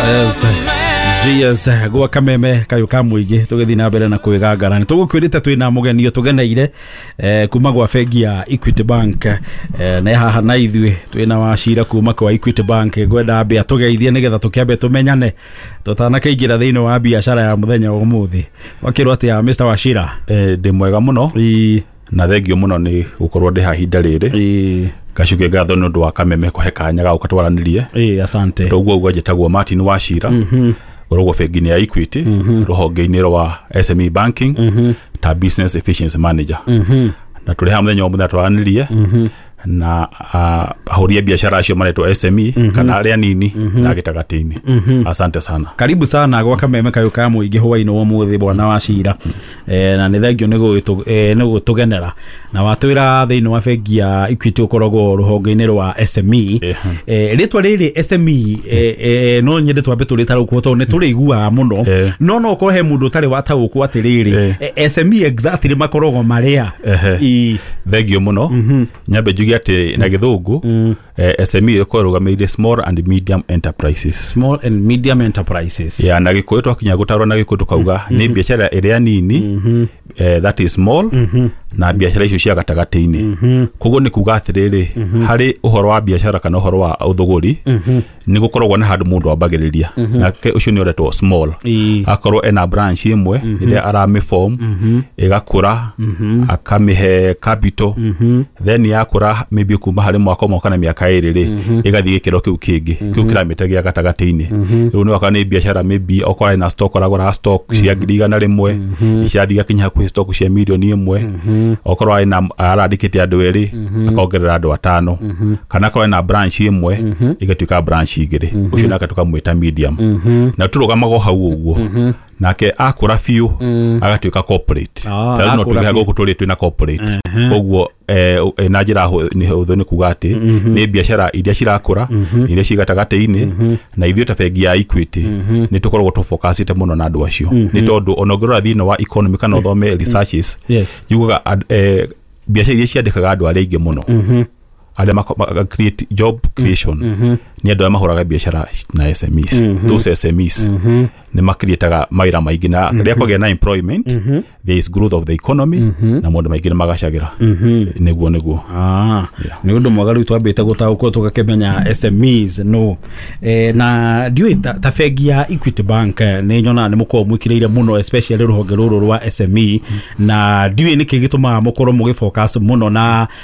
Yes. GS gwa kameme kayo ka muingi tugithii na mbere na kwigangara. Ni tugukwirite twina mugenio tugeneire kuma gwa bengi ya Equity Bank, na haha na ithuĩ twina Wacira kuma kwa Equity Bank. Ngwenda ambe atugeithie nigetha tukiambe tumenyane tutanakĩingĩra thĩinĩ wa biacara ya mũthenya wa ũmũthĩ. Wakĩrwo atĩa, Mr Wachira? Ndĩ mwega mũno. Na thengio mũno nĩ gũkorwo ndĩ haha ihinda rĩrĩ. Ngacokia ngatho nĩ ũndũ wa kameme kũhe kanya ga gũka twaranĩrie. Asante. Toguo ũguo, njĩtagwo Martin Wachira, ngoragwo bengi-inĩ ya Equity, rũhonge-inĩ rwa SME banking ta business efficiency manager, na tũrĩ haha mũthenya wa mũthenya twaranĩrie na ahũri a biacara acio maretwo SME kana arĩa nini na gĩtagatĩ-inĩ. Asante sana. Karibu sana gwa kameme kayo ka mũingĩ hwainĩ wa ũmũthĩ, bwana Wacira, na nĩ thengio nĩ gũtũgenera na watwĩra thĩinĩ wa bengi ya Equity ũkoragwo rũhonge-inĩ rwa SME. Rĩtwa rĩrĩ SME, no nyende twambe tũrĩtarũkwo tondũ nĩ tũrĩiguaga mũno, no ũkorwo he mũndũ ũtarĩ wataũkwo atĩrĩrĩ, SME exactly makoragwo marĩa? Thengio mũno. Nyambe njuge atĩ na gĩthũngũ SME ĩkoragwo ĩrũgamĩrĩire small and medium enterprises. Small and medium enterprises. Ya, na gĩkũyũ twakinya gũtarwo na gĩkũyũ tũkauga nĩ biacara ĩrĩa nini, that is small, na biacara icio cia gatagatĩ-inĩ. Koguo nĩ kuga atĩrĩrĩ, harĩ ũhoro wa biacara kana ũhoro wa ũthũgũri, nĩ gũkoragwo na handũ mũndũ ambagĩrĩria, nake ũcio nĩ ũretwo small. Akorwo ena branch ĩmwe ĩrĩa aramĩform, ĩgakũra, akamĩhe capital, then yakũra maybe kuma harĩ mwaka ũmwe kana mĩaka 2 rĩ, ĩgathiĩ gĩkĩro kĩu kĩngĩ, kĩu kĩramĩte gĩa gatagatĩ-inĩ. Rĩu nĩ waka nĩ biacara, maybe okorwo ena stock, aragũra stock cia 100,000, cirathiĩ igakinya hakuhĩ stock cia 1 million. Okorwo ena arandĩkĩte andũ erĩ, akongerera andũ atano, kana akorwo ena branch ĩmwe ĩgatuĩka branch 2, ũcio nake tũkamwĩta medium. Na tũrũgamaga o hau ũguo, nake akũra biũ agatuĩka corporate. Ta rĩu no Akũra tuge biũ. gũkũ tũrĩ twĩna corporate. Koguo na njĩra nĩ hũthũ nĩ kuga atĩ nĩ biacara iria cirakũra, iria ci gatagatĩ-inĩ, na ithuĩ ta bengi ya Equity nĩ tũkoragwo tũfocusĩte mũno na andũ acio, nĩ tondũ ona ũngĩrora thĩinĩ wa economy kana ũthome researches, yugaga biacara iria ciandĩkaga andũ arĩa aingĩ mũno, arĩa create job creation, nĩ andũ arĩa mahũraga biacara na SMEs. Those SMEs nĩ makrietaga mawĩra maingĩ, na rĩrĩa kwagĩa na employment, there is growth of the economy na maũndũ maingĩ nĩ magacagĩra. Nĩguo. Nĩ ũndũ mwega rĩu twambĩte gũtaũkwo tũgakĩmenya SMEs no na ndiũĩ ta bengi ya Equity Bank, nĩ nyonaga nĩ mũkoragwo mwĩkĩrĩire mũno especially rũhonge rũrũ rwa SME, na ndiũĩ nĩkĩ gĩtũmaga mũkorwo mũgĩfocus mũno na